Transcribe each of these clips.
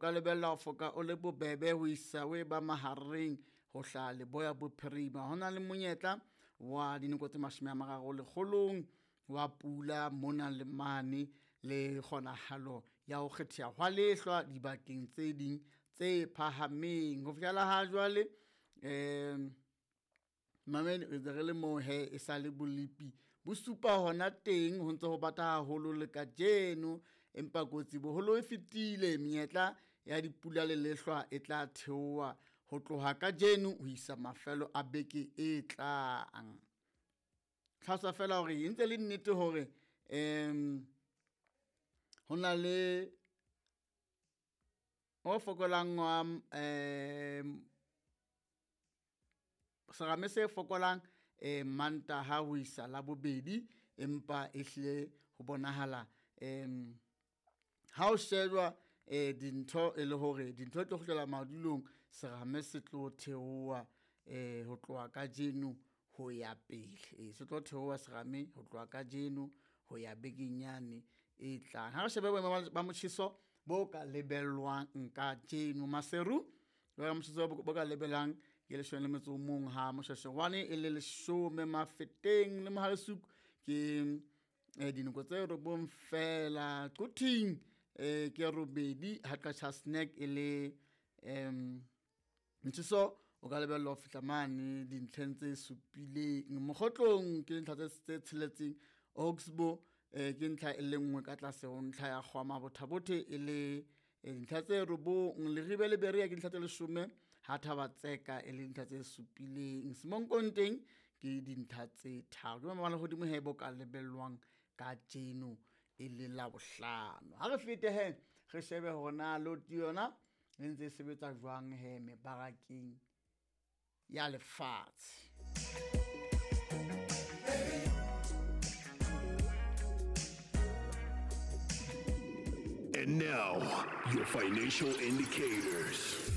ka lebella ho foka o le bobebe ho isa o e ba mahareng ho hlaha leboya bophirima. Ho na le monyetla wa dinoko tse 30 lekgolong wa pula mona le mane le kgonahalo ya ho kgetheha hwa lehlwa dibakeng tse ding tse phahameng. Ho fihlela ha jwale mamedi re ntse re le moo he e sa le bolepi bo supa hona teng ho ntse ho bata haholo le kajeno, empa kotsi boholo e fetile. Menyetla ya dipula le lehlwa e tla theoha ho tloha kajeno ho isa mafelo a beke e tlang. Tlhalosa fela hore e ntse le nnete hore ho na le o fokolang wa serame se fokolang Mantaha ho isa Labobedi, empa ehlile ho bonahala ha o shejwa dintho e le hore dintho di tlo kgutlela madulong, serame se tlo theoha ho tloha kajeno ho ya pele. Se tlo theoha serame ho tloha kajeno ho ya bekeng yane e tlang. Ha re shebe boemo ba motjheso bo ka lebellwang kajeno Maseru, motjheso bo ka lebellang ke 11 ha Moshweshwe e le 10, Mafeteng le Mohale'shoek ke dinoko tse 9 fela, Quthing ke 8 ha Qacha's Nek e le motjheso o ka lebellwa ho fihla mane dintlheng tse 7, Mokgotlong ke dintlha tse 6, Oxbow ke ntlha e le nngwe ka tlase ho ntlha ya Kgwama Botha-Bothe e le dintlha tse 9, Leribe le Berea ke dintlha tse 10 ha Thaba-Tseka e le dintlha tse 7, Semonkong teng ke dintlha tse 3. Ke maemo a lehodimo he bo ka lebellwang kajeno e le Labohlano. Ha re fete he re shebe hore na loti yona e ntse e sebetsa jwang he mebarakeng ya lefatshe. And now, your financial indicators.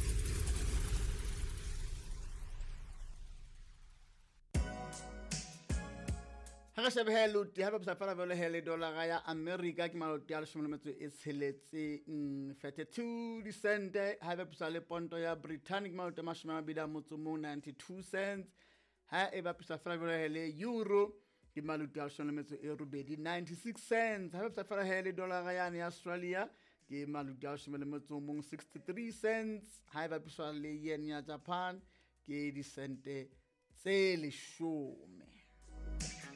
Ha re shebe he loti, ha bapisa fela jwale he le dollara ya America ke maloti a 16 32 disente, ha bapisa le ponto ya Britain ke maloti a 21 92 cents, ha e bapisa fela jwale he le euro ke maloti a 18 96 cents, ha bapisa fela he le dollara yane ya Australia ke maloti a 11 63 cents, ha e bapisa le yen ya Japan ke disente tse 10.